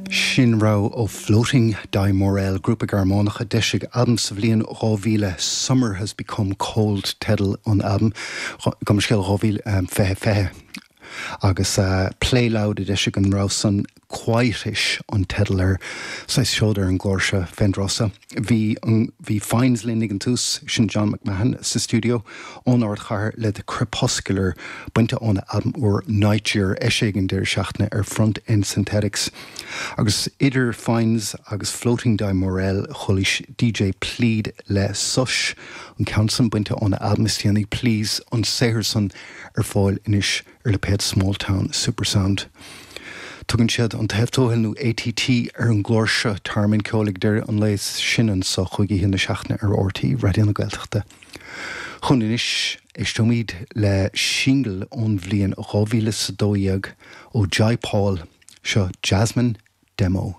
Sin rogha ó Floating Di Morel, grúpa Gearmánach a d'eisigh albam sa bhliain 2000, Summer Has Become Cold teideal an albaim, gabh mo leithscéal 2020, agus Play Loud a d'eisigh an rogha san, Quietish an teideal air. Saghas seoid ar an gclár seo fén dtráth so. Bhí an, bhí Fynes linn ag an tús, sin John McMahon sa stiúideo ón ardchathair le The Crepuscular, bainte óna albam úr Nightyear, eisithe ag an deireadh seachtaine ar Front End Synthetics. Agus idir Fynes agus Floating Di Morel chualaís DJ Plead le Sush, an ceann san bainte óna albam is déanaí Please, an saothar san ar fáil anois ar lipéad Smalltown Supersound. Tugann siad An Taobh Tuathail nó ATT ar an gclár seo, Tearmann Ceoil ag deireadh an lae, sin anso chúig oíche na seachtaine ar RTÉ Raidió na Gaeltachta. Chugainn anois, éisteoimid le singil ón bhliain 2012 ó Jai Paul, seo Jasmine Demo.